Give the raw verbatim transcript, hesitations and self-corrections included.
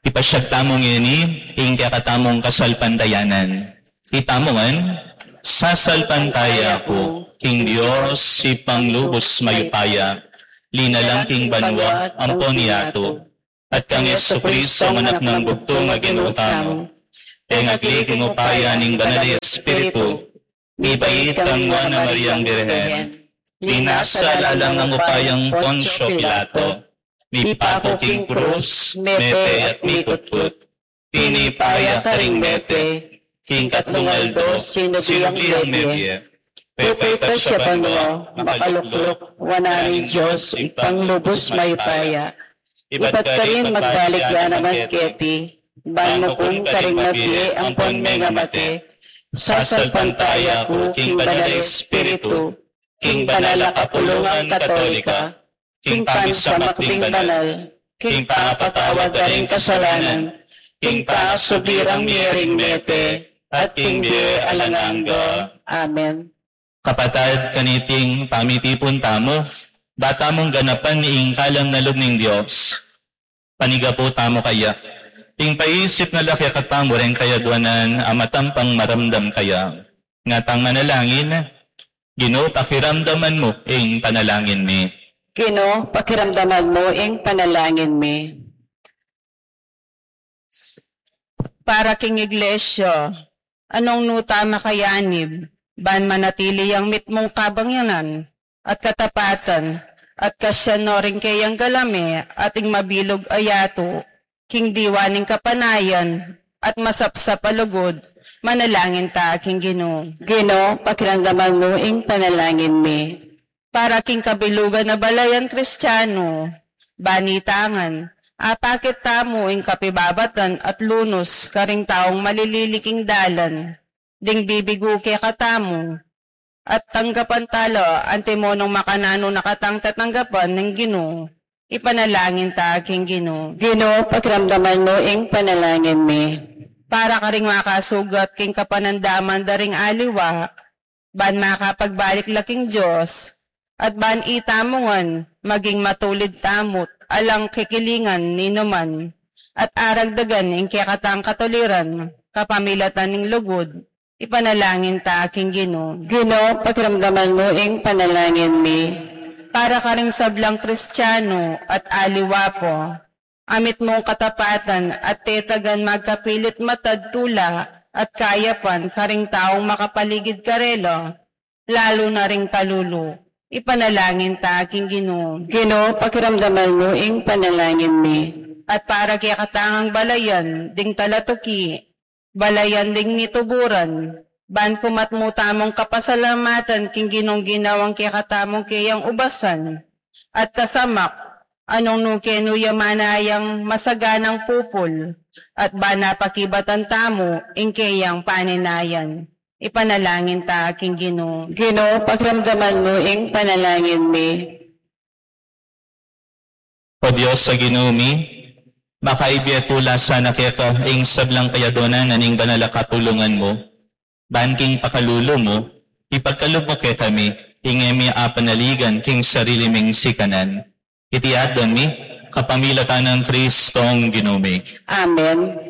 Ipasyag tamu ngeni ing kekatamung kasalpantayanan. Itamu ngan, sasalpantaya ku king Dios, Ibpang lubus mayupaya, linalang king banua ampon yatu, at kang Jesucristo, Anak nang bugtung a Ginu tamu, pengagli king upaya ning Banal a Espiritu, mibait kang Nuan a Mariang Birhen, minasa lalam ning upayang Poncio Pilato, mipaku king krus, mete at mikutkut, tinipa ya karing mete, king katlung aldo sinubli yang mebie, pepaitas ya banua, makalukluk wanan ning Dios, Ibpang lubus mayupaya. Ibat karin magbalik ya naman keti, ban mukum karing mabie ampon mengamate, sasalpantaya ku king Banal a Espiritu, king banal a kapulungan Katolika, king pamisamak ding banal, king pangapatawad da ring kasalanan, king pangasubli rang mie ring mete, at king bie alang angga. Amen. Kapatad, kaniting pamitipun tamu, ba tamung ganapan ing kalam na lub ning Dios. Panigapu tamu kaya. Ing paisip na la kekatamu reng kayaduanan a matampang maramdam kaya. Ngatang manalangin, Ginu, pakiramdaman mu ing panalangin mi. Ginu, pakiramdaman mu ing panalangin mi. Para king Iglesia, anong nuta makayanib, ban manatili yang mitmung kabangyanan at katapatan, at kasyan no ring keyang galame at ing mabilug a yatu, king diwa ning kapanayan, at masapsap a lugud, manalangin ta king Ginu. Ginu, pakiramdaman mu ing panalangin mi. Para king kabilugan a balayan Kristiano, banitangan, apakit tamu ing kapibabatan at lunus karing taung malilili king dalan, ding bibigu kekatamu, at tanggapan ta la, antimonong makananu na katang tatanggapan ning Ginu, ipanalangin ta king Ginu. Ginu, pakiramdaman mu ing panalangin mi. Para karing makasugat king kapanandaman da ring aliwa, ban makapagbalik la king Dios, at ban itamu ngan maging matulid tamu't alang kikilingan ninuman, at aragdagan ing kekatang katuliran, kapamilatan ning lugud, ipanalangin ta king Ginu. Ginu, pakiramdaman mu ing panalangin mi. Para karing sablang Kristiano at aliwa pa, a mitmung katapatan at tetagan magkapilit matad tula at kayapan karing taung makapaligid karela, lalu na ring kalulu, ipanalangin ta king Ginu. Ginu, pakiramdaman mu ing panalangin mi. At para kekatamung balayan ding talatuki, balayan ding mituburan, ban kumat mu tamung kapasalamatan king Ginung ginawang kekatamung keyang ubasan, at kasamak, anong nu kenu ya manayang masaganang pupul, at ban apakibatan tamu ing keyang paninayan. Ipanalangin ta king Ginu. Ginu, pakiramdaman mu ing panalangin mi. O Dios a Ginu mi, makaibie tula sana keka ing sablang kayaduanan ning banal a kapulungan mu, ban king pakalulu mu, ipagkalub mu kekami ing e mi apanaligan king sarili ming sikanan. Iti adwan mi, kapamilatan nang Kristong Ginu mi. Amen.